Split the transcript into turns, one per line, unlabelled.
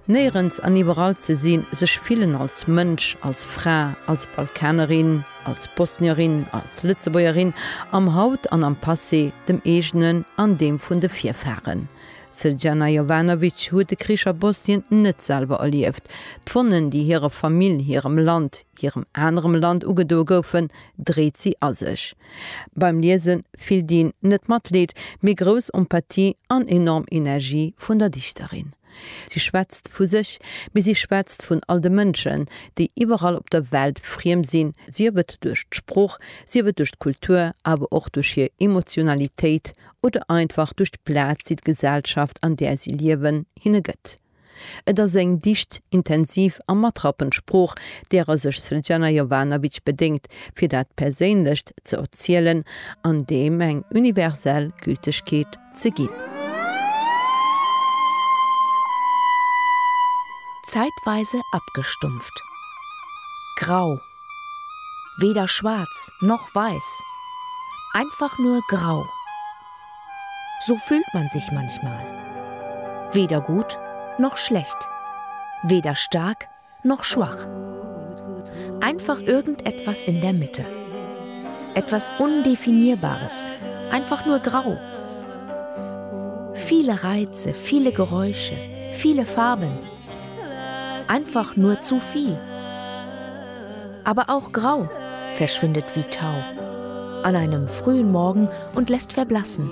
Néierens an iwwerall ze sinn, sech fillen als Mënsch, als Fra, als Balkanerin, als Bosnierin, als Lëtzebuergerin, am Haut an am Passé, dem eegenen an deem vun de Virfaren. D'Srđana Jovanović huet de Krich a Bosnien net selwer erlieft. D'Wonnen, déi hirer Famill, hirem Land, hirem anerem Land ugedoe goufen, dréit si a sech. Beim Liese fillt een net Matleed, mee grouss Empathie an enorm Energie vun der Dichterin. Si schwätzt vu sech, mee si schwätzt vun all de Mënschen, déi iwwerall op der Welt friem sinn, sief et duerch d'Sprooch, sief et duerch d'Kultur, awer och duerch hir Emotionalitéit oder einfach duerch d'Plaz, déi d'Gesellschaft, an där si liewen, hinne gëtt. Et ass eng dicht, intensiv a matrappend Sprooch, därer sech Srdjana Jovanović bedéngt, fir dat Perséinlecht ze erzielen an deem eng universell Gültegkeet ze ginn.
Zeitweise abgestumpft. Grau. Weder schwarz noch weiß. Einfach nur grau. So fühlt man sich manchmal. Weder gut noch schlecht. Weder stark noch schwach. Einfach irgendetwas in der Mitte. Etwas Undefinierbares, einfach nur grau. Viele Reize, viele Geräusche, viele Farben. Einfach nur zu viel. Aber auch grau verschwindet wie Tau an einem frühen Morgen und lässt verblassen.